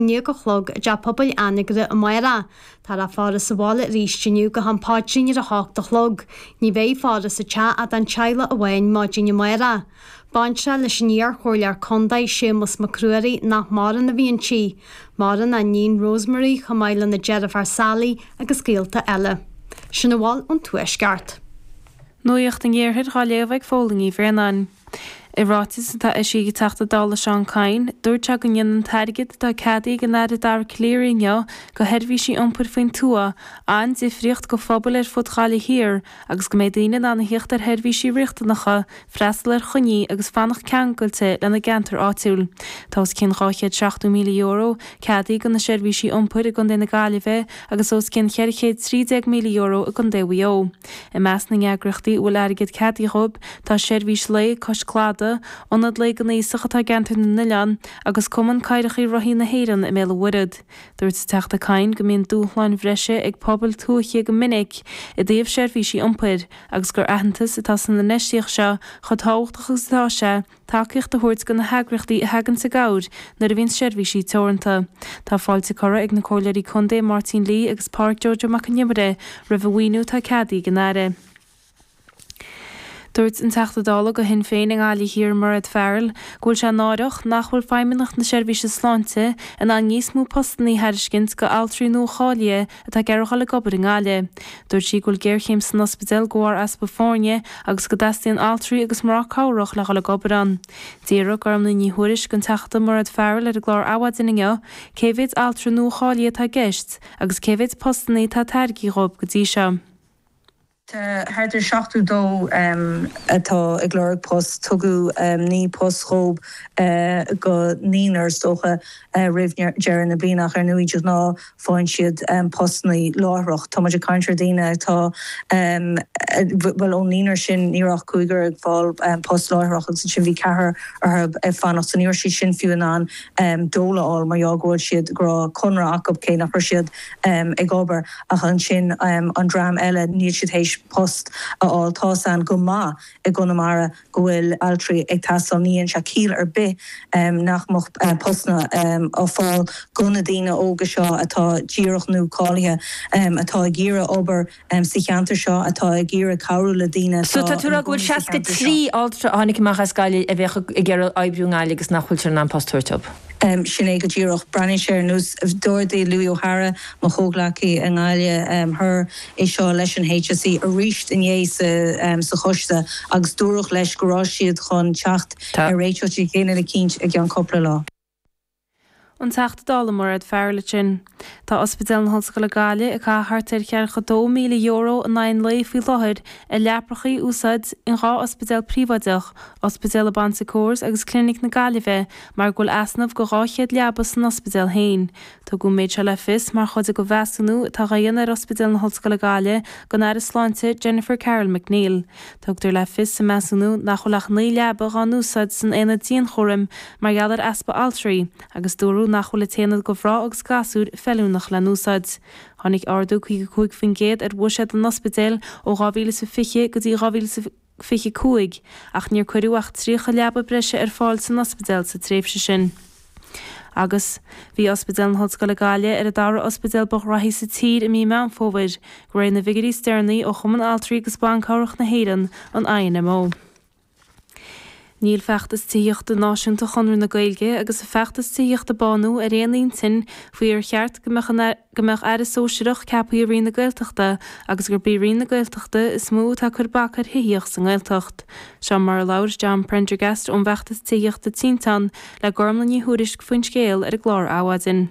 A chlog i dTeach Pobail Anagaire amárach. Táthar á faire sa bhaile arís inniu go ham paidrín ar a hocht a chlog. Ní bheidh faire sa teach ach don teaghlach amháin maidin amárach. Baintreach leis an iar-chomhairleoir contae Séamus Mac Ruairí nach maireann a bhí inti. Maireann a iníon Rosemary chomh maith lena deirfiúr Sally agus gaolta eile. Sin a bhfuil ón Tuaisceart. Nuacht an Iarthair dhá léamh ag Fódhla Ní Bhraonáin. I ráiteas atá eisithe ag an Teachta Dála Seán Kyne, dúirt sé go ndéanann an t-airgead atá ceadaithe ag an Aire Dara Calleary inniu go sheirbhísí iompair faoin tuath an-difríocht go phobail ar fud Ghaillimh Thiar agus go mbeidh daoine in ann a thíocht ar sheirbhísí riachtanacha, freastal ar choinní agus fanacht ceangailte lena gceantar áitiúil. Tá os cionn €270,000 ceadaithe go na seirbhísí iompair i gContae na Gaillimhe agus os cionn €413,000 i gContae Mhaigh Eo. I measc na n-eagraíochtaí a bhfuil airgead ceadaithe dhóibh tá Seirbhís Lae Cois Cladaigh, Ionad Lae don Aosach atá i gCeantar na nOileán agus Cumann Cathracha Rothaí na hÉireann i mBéal an Mhuirthead. Dúirt an Teachta Kyne go mbíonn dúshláin bhreise ag pobail tuaithe go minic i dtaobh seirbhísí iompair agus gur aitheantas atá san infheistíocht seo chomh tábhachtach agus atá sé tacaíocht a thabhairt do na heagraíochtaí a thaganns i gcabhair nuair a bhíonn seirbhísí teoranta. Tá fáilte curtha ag na Comhairleoirí Contae Máirtín Lee agus Pádraic Joe Joe Mac an Iomaire roimh an mhaoiniú atá ceadaithe ag an Aire. Dúirt an Teachta Dála do Shinn Féin i nGaillimh Thiar Mairéad Farrell go bhfuil sé náireach nach bhfuil Feidhmeannacht na Seirbhíse Sláinte in ann níos mó postanna a thairiscint go altraí nua-cháilithe atá ag iarraidh dhul ag obair i nGaillimh. Dúirt sí go bhfuil géarchéim san ospidéal de bharr easpa foirne agus go dteastaíonn altraí agus mná cabhrach le dhul ag obair ann. D'fhiafraigh Gormlaith Ní Thuairisg den Teachta Mairéad Farrell ar an gclár Adhmhaidin inniu cé mhéid altra nua-cháilithe atá i gceist agus cé mhéid postanna atá tairgthe dhóibh go dtí seo. Tá thart ar 72 atá ag lorg post. Tugadh 9 post dhóibh go naonúr is dócha roimh deireadh na bliana ach ar ndóigh de ghnáth faigheann siad postanna láithreach. Tá muid ag caint ar daoine atá, bhuel ón naonúr sin ní raibh ach cúigear ag fáil post láithreach agus ansin bhí ceathrar orthu ag fanacht so ní raibh siad sin fiú in ann dole a fháil mar gheall go bhfuil siad, go raibh conradh acu cé nach raibh siad ag obair. Ach ansin an dream eile, níl siad théis post a fháil. Tá's a'inn go maith i gConamara go bhfuil altraí ag teastáil. Ní dhéanann sé ciall ar bith nach mbeadh postanna á fáil go na daoine óga seo atá díreach nua-cháilithe, atá ag iarraidh obair sa cheantar seo, atá ag iarraidh cabhrú le daoine So atá tá tú ag ina rá go bhfuil gcónaí sa cheantar seo. 63 altra a tháinig amach as Gaillimh a bheadh ag iarraidh oibriú i nGaillimh agus nach bhfuiltear in ann post a thabhairt dóibh? Sin é go díreach. Breathnaíonn sé ar nós, d'ardaigh Louis O'Hara, mo chomhghleacaí i nGaillimh Thoir, é seo leis an HSE arís inné sa choiste agus dúradh leis go raibh siad chun teacht ar réiteach éigin eicínt i gceann cúpla lá. An Teachta Dála Mairéad Farrell ansin. Tá Ospidéal na hOllscoile Gaillimh ag caitheamh thart ar €42,000 in aghaidh an lae faoi láthair ar leapacha a úsáid in 2 ospidéal príobháideach, Ospidéal na Bon Secours agus Clinic na Gaillimhe, mar go bhfuil easnamh go 200 leaba san ospidéal féin. Tugadh an méid seo le fios mar chuid de mheasúnú atá á dhéanamh ar Ospidéal na hOllscoile Gaillimh ag an Aire Sláinte Jennifer Carroll MacNeill. Tugtar le fios sa measúnú nach bhfuil ach 9 leaba dhá n-úsáid san aonad dianchúraim mar gheall ar easpa altraí agus dúradh nach bhfuil an t-aonad go mhná agus gasúir feiliúnach le n-úsáid. Tháinig ardú 55% ar bhuiséad an ospidéil ó 2020 go dtí 2025 ach níor cuireadh ach 30 leaba breise ar fáil san ospidéal sa tréimhse sin. Agus, bhí Ospidéal na hOllscoile Gaillimh ar an dara ospidéal ba ghraithí sa tír i mí Meán Fómhair, de réir na bhfigiúirí is deireanaí ó Chumann Altraí agus Ban Cabhrach na hÉireann, an INMO. Níl Feachtas Tithíochta Náisiúnta Chonradh na Gaeilge agus an Feachtas Tithíochta Bánú ar aon intinn faoi ar cheart go mbeadh an go mbeadh Aire Sóisearach ceaptha i Roinn na Gaeltachta agus gurb í Roinn na Gaeltachta is mó atá ag cur bac ar thithíocht sa nGaeltacht. Seo mar a labhair John Prendergast ón bhFeachtas Tithíochta Tinteán le Gormlaith Ní Thuairisg faoin scéal ar an gclár Adhmhaidin.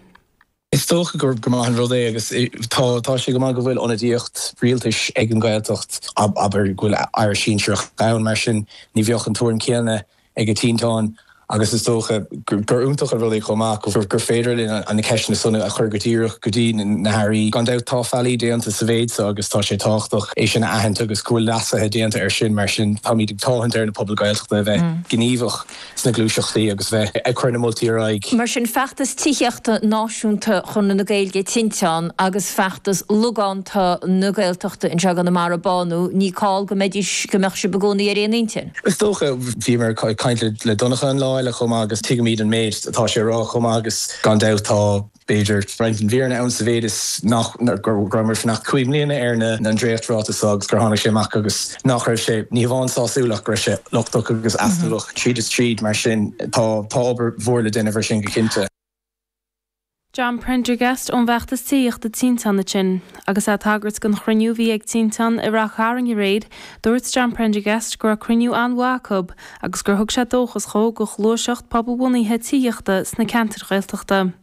Is dócha gur maith an rud é agus tá tá sé go maith go bhfuil ionadaíocht rialtais ag an Ghaeltacht, abair go bhfuil aire sinsearach ann, mar sin ní bheadh an tuairim chéanna ag Tinteán agus is dócha gur iontach an rud é chomh maith gur féidir linn na ceisteanna san a chur go díreach go dtí na hairí. Gan dabht tá faillí déanta sa mhéid seo agus tá sé tábhachtach é sin a aithint agus go bhfuil leasuithe déanta air sin, mar sin táimid ag tathant ar na pobail Ghaeltachta a bheith gníomhach. sna gluaiseachtaí agus bheith ag cur na moltaí ar aghaidh. Mar sin, feachtas tithíochta náisiúnta Chonradh na Gaeilge, Tinteán, agus feachtas logánta na Gaeltachta anseo i gConamara, Bánú, ní call go mbeidís, go mbeadh sibh i gcónaí ar aon intinn. Is dócha, bhíomar ag caint le Donncha an lá. bhaile chomh maith agus tuigimid an méid atá sé a rá chomh maith agus gan dabht tá, b'fhéidir, roinnt den bhfírinne ann sa mhéid is nach, go rabhamar ag fanacht 5 mbliana ar na, an dréacht-ráiteas seo agus gur tháinig sé amach agus nach raibh sé, ní hamháin sásúil ach go raibh sé lochtach agus easnamhach tríd is tríd mar sin tá, tá obair mhór le déanamh ar sin go cinnte. John Prendergast ón bhfeachtas tithíochta Tinteán ansin. Agus é ag tagairt don chruinniú a bhí ag Tinteán i Rath Cairn aréir, dúirt John Prendergast go raibh cruinniú an-mhaith acu agus gur thug sé dóchas dhó do ghluaiseacht pobalbhunaithe tithíochta sna ceantair Ghaeltachta.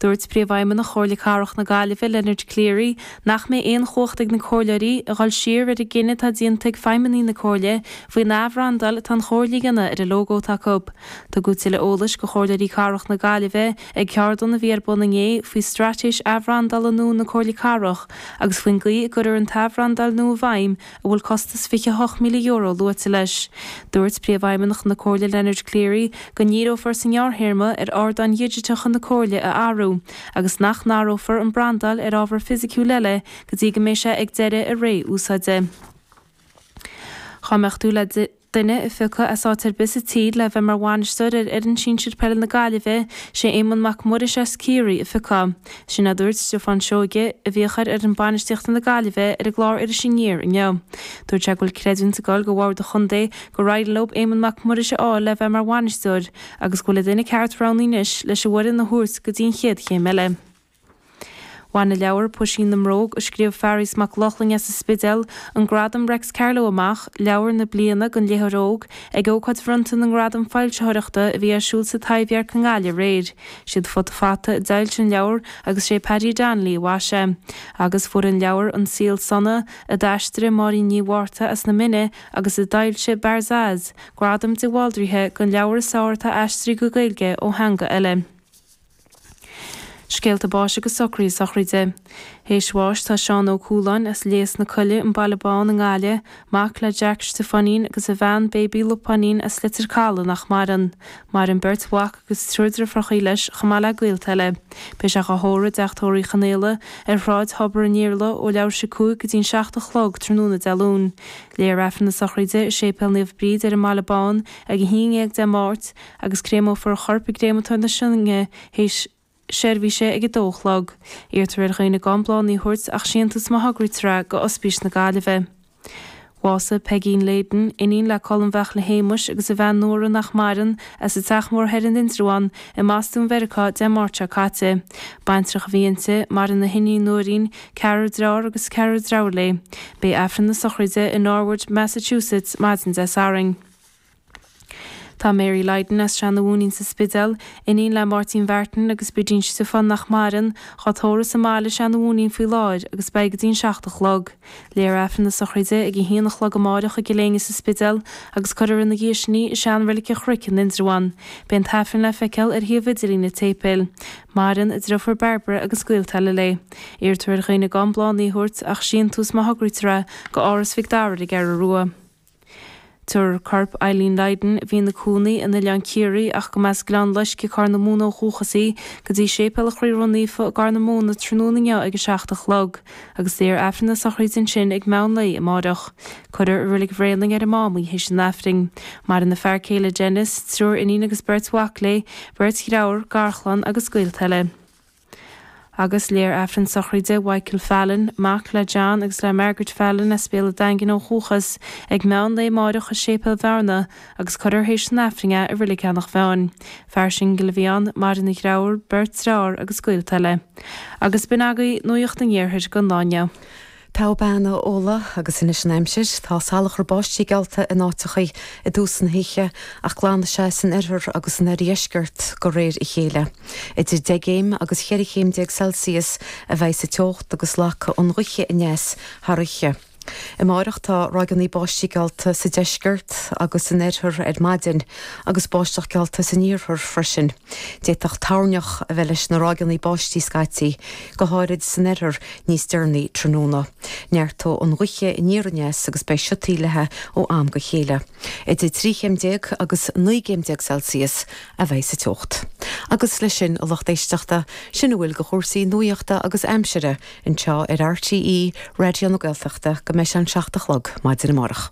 Dúirt Príomhfheidhmeannach Chomhairle Cathrach na Gaillimhe, Leonard Cleary, nach mbeidh aon chumhacht ag na comhairleoirí a dhul siar ar an gcinneadh atá déanta ag feidhmeannaigh na Comhairle faoin athbhrandáil atá an Chomhairle a dhéanamh ar an lógó atá acu. Tugadh tuilleadh eolais do chomhairleoirí cathrach na Gaillimhe ag ceardlann a bhí ar bun inné faoi straitéis athbhrandála nua na Comhairle Cathrach agus faoin gcaoi a gcuirfear an t-athbhrandáil nua i bhfeidhm a bhfuil costas €28,000 luaite leis. Dúirt Príomhfheidhmeannach na Comhairle Leonard Cleary go ndíreofar sa ngearrthéarma ar ardáin dhigiteacha na Comhairle a athrú agus nach n-athrófar an brandáil ar ábhar fisiciúil eile go dtí go mbeidh sé ag deireadh a ré úsáide. Dhá mbeadh tú le duine a phiocadh as áit ar bith sa tír le bheith mar bhainisteoir ar fhoireann sinsir peile na Gaillimhe, sé Éamonn Mac Muiris as Ciarraí a phiocfá. Sin a dúirt Stiofán Seoige, a bhíodh ar fhoireann bainistíochta na Gaillimhe, ar an gclár Iris Aniar inniu. Dúirt sé go bhfuil creidiúint ag dul go bhord an chontae gur éirigh leo Éamonn Mac Muiris a fháil le bheith mar bhainisteoir agus go bhfuil an duine ceart roghnaithe anois leis an bhfoireann a thabhairt go dtí an chéad chéim eile. Bhain an leabhar Puisín na mBróg, a scríobh Fearghas Mac Lochlainn as an Spidéal, an gradam Reics Carló amach, Leabhar na Bliana don Léitheoir Óg, ag ócáid bhronnta na nGradam Foilsitheoireachta a bhí ar siúl sa Taibhdhearc i nGaillimh aréir. Siad Futa Fata a d'fhoilsigh an leabhar agus sé Paddy Donnelly a mhaisigh é. Agus fuair an leabhar An Saol Sona, a d'aistrigh Máirín Ní Mhárta as na Mine agus a d'fhoilsigh Barzaz, gradam de Bhaldraithe don leabhar is fearr atá aistrithe go Gaeilge ó theanga eile. Scéalta báis agus socruithe sochraide. Théis bháis tá Seán Ó Cualáin as Léas na Coille, an Baile Bán i nGaillimh, mac le Jack Stiofáinín agus a bhean Baby Lupáinín as Leitir Caladh nach maireann. Maireann beirt mhac agus triúr driofrachaí leis chomh maith le gaolta eile. Beidh sé dhá thórramh i dTeach Tórraimh Uí Chonaola ar Shráid Thobar an Iarla ó leathuair théis 5 go dtí'n 7 a chlog tráthnóna Dé Luain. Léifear Aifreann na sochraide i Séipéal Naomh Bríd ar an mBaile Bán ag 11 Dé Máirt agus créamófar a chorp i gcréamatóir na Sionainne théis seirbhíse ag 2 a chlog. Iarrtar ar dhaoine gan bláthanna a thabhairt ach síntiús má thograítear é go Ospís na Gaillimhe. Bhásaigh Peigín Leyden, iníon le Colm Bheachla Shéamuis agus a bhean Nóra nach maireann, as an Teach Mór Thoir in Indreabhán i mBostún Mheiriceá Dé Máirt seo caite. Baintreach a bhí inti, maireann a hiníon Nóirín, ceathrar dearthár agus ceathrar deirfiúr léi. Beidh Aifreann na sochraide i Norwood, Massachusetts maidin Dé Sathairn. Tá Mary Lydon as Seanadh Mhúinín sa Spidéal, iníon le Máirtín Mhartin agus Bridín Stiofáin nach maireann, dhá tórramh sa mbaile i Seanadh Mhúinín faoi láthair agus beidh go dtí'n 7 a chlog. Léifear Aifreann na sochraide ag a haon a chlog amáireach i gCill Éinne sa Spidéal agus cuirfear ina dhiaidh sin í i sean-reilig an Chnoic in Indreabhán. Beidh an t-aifreann le feiceáil ar shuíomh idirlín an tséipéil. Maireann a driofúr Barbara agus gaolta eile léi. Iarrtar ar dhaoine gan bláthanna a thabhairt ach síntiús má thograítear é go Áras Mhic Dara ar an gCeathrú Rua. Tabharfar corp Eileen Lydon, a bhí ina cónaí in Oileán Ciarraí ach go mb'as Gleann Loiscthe Corr na Móna ó dhúchas í, go dtí Séipéal an Chroí Ró-Naofa i gCorr na Móna tráthnóna inniu ag 7 a chlog, agus léifear Aifreann na sochraide ansin ag meán lae amáireach. Cuirfear i Reilig Bhréanainn ar an Mám í théis an Aifrinn. Maireann a fear céile Denis, triúr iníon agus beirt mhac léi, beirt dhreabhar, garchlann agus gaolta eile. Agus léifear Aifreann sochraide Mhichael Fallon, mac le John agus le Margaret Fallon as Béal an Daingin ó dhúchas, ag meán lae amáireach i Séipéal Bhearna agus cuirfear théis an Aifrinn é i Reilig Eanach Mheáin. Fear singil a bhí ann, maireann a dhreabhar, beirt dreabhar agus gaolta eile. Agus b'in agaibh Nuacht an Iarthair don lá inniu. Togha bean a Fhódhla, agus anois an aimsir. Tá salachar báistí geallta in áiteachaí i dtús na hoíche, ach glanfaidh sé san oirthear agus san oirdheisceart de réir a chéile. Idir 10 gcéim agus 14 chéim Celsius a bheidh sa teocht agus lagfaidh an ghaoth aneas thar oíche. Amáireach tá ráigeanna báistí geallta sa deisceart agus san oirthear ar maidin agus báisteach geallta san iarthar freisin. D'fhéadfadh toirneach a bheith leis na ráigeanna báistí scaití, go háirid san oirthear níos deireanaí tráthnóna. Neartóidh an ghaoth aniar aneas agus beidh siotaí léi ó am go chéile. Idir 13 chéim agus 19 gcéim Celsius a bheidh sa teocht. Agus leis sin, a lucht éisteachta, sin a bhfuil de chúrsaí nuachta agus aimsire anseo ar RTÉ Raidió na Gaeltachta go mbeidh sé an 7 a chlog maidin amárach.